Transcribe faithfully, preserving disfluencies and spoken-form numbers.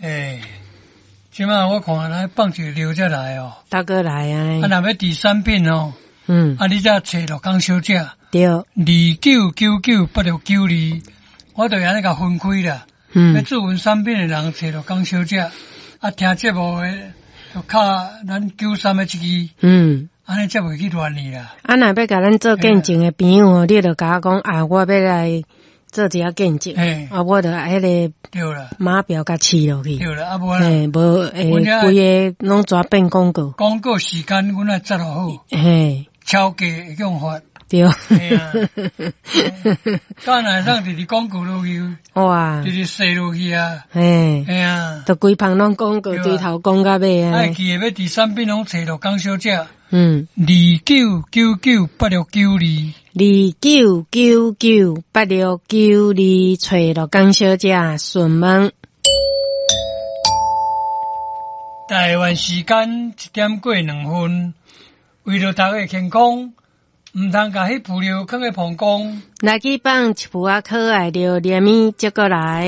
欸，這馬我看來放一個料才來哦。大哥來啊！啊，若欲佇產品哦，嗯，啊，你才揣陸江小姐。對。二九九九八六九二，我就按呢共分開啦。嗯。欲注文產品的人揣陸江小姐，啊，聽節目的就敲咱九三的這支。嗯。按呢才袂去亂去啦。啊，若欲共咱做見證的朋友哦，你就共我講啊，我欲來做一下見證。嘿。啊，我就彼个對啦。碼表共試落去。對啦，啊無嘿，無會規个攏全變廣告。廣告時間阮愛設落好。嘿。超過會用罰。對。嘿啊。敢若會當直直廣告落去。哇。直直踅落去啊。嘿。嘿啊。就規棚攏廣告，對頭講到尾啊。愛記得欲佇產品攏揣陸江小姐。嗯。二九九九八六九二。二九九九八六九二，揣陸江小姐詢問。台灣時間一點過兩分，為著大家健康，毋通共彼浮料囥佇膀胱。來去放一幅仔可愛著連物接過來。